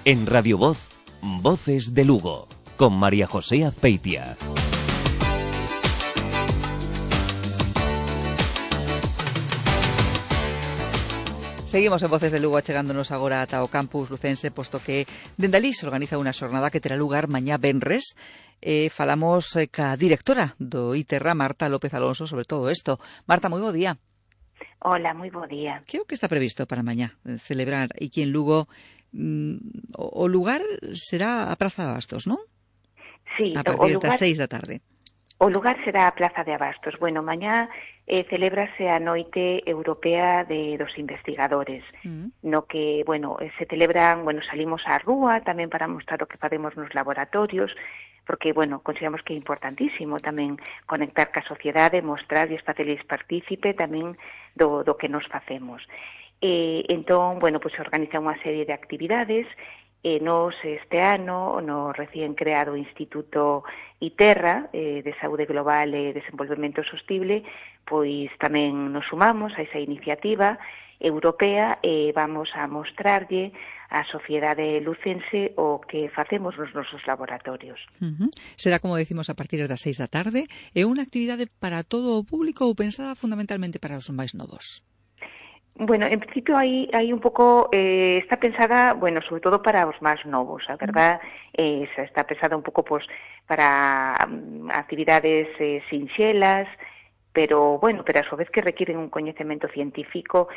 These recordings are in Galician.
En Radio Voz, Voces de Lugo, con María José Azpeitia. Seguimos en Voces de Lugo achegándonos agora ata o campus lucense, posto que dende alí se organiza unha xornada que terá lugar mañá venres. Falamos ca directora do ITERRA, Marta López Alonso, sobre todo isto. Marta, moi bo día. Hola, moi bo día. Que é o que está previsto para mañá celebrar aquí en Lugo? O lugar será a Praza de Abastos, non? Sí, a partir das 6 da tarde. O lugar será a Plaza de Abastos. Bueno, mañá celébrase a Noite Europea dos Investigadores, no que, bueno, se celebran, bueno, salimos á rúa tamén para mostrar o que facemos nos laboratorios, porque, bueno, consideramos que é importantísimo tamén conectar ca sociedade, mostrarlles, facerlles partícipe tamén do que nos facemos. Entón, bueno, pues se organiza unha serie de actividades. Nos este ano, no recién creado Instituto ITERRA de Saúde Global e Desenvolvemento Sostible, pois tamén nos sumamos a esa iniciativa europea e vamos a mostrarlle á sociedade lucense o que facemos nos nosos laboratorios. Será, como decimos, a partir das 6 da tarde. É unha actividade para todo o público ou pensada fundamentalmente para os máis novos? Bueno, en principio hai un pouco, está pensada, bueno, sobre todo para os máis novos, a verdad, está pensada un pouco pues, para actividades sinxelas, pero, bueno, pero a súa vez que requiren un coñecemento científico,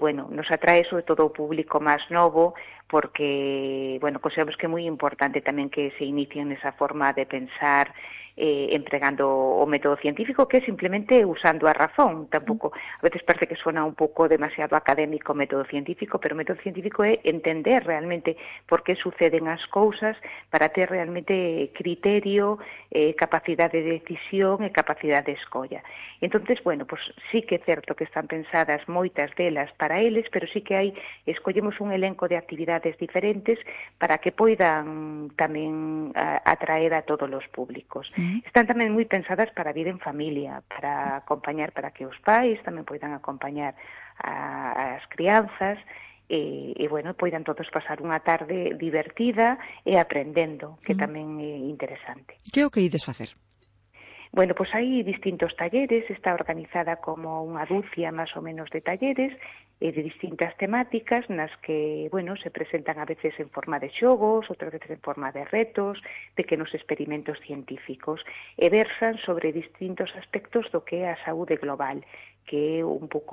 bueno, nos atrae sobre todo o público máis novo, porque, bueno, consideramos que é moi importante tamén que se inicien esa forma de pensar empregando o método científico, que é simplemente usando a razón. Tampouco, a veces parece que suena un pouco demasiado académico o método científico, pero o método científico é entender realmente por que suceden as cousas para ter realmente criterio, capacidade de decisión e capacidade de escolla. Entonces, bueno, pues sí que é certo que están pensadas moitas delas para eles, pero sí que escollemos un elenco de actividades diferentes para que poidan tamén atraer a todos os públicos. Están tamén moi pensadas para vir en familia, para acompañar, para que os pais tamén poidan acompañar as crianzas e bueno, poidan todos pasar unha tarde divertida e aprendendo, que tamén é interesante. Que é o que ides facer? Bueno, pues hai distintos talleres, está organizada como unha dúcia máis ou menos de talleres de distintas temáticas nas que, bueno, se presentan a veces en forma de xogos, outras veces en forma de retos, pequenos experimentos científicos e versan sobre distintos aspectos do que é a saúde global, que é un pouco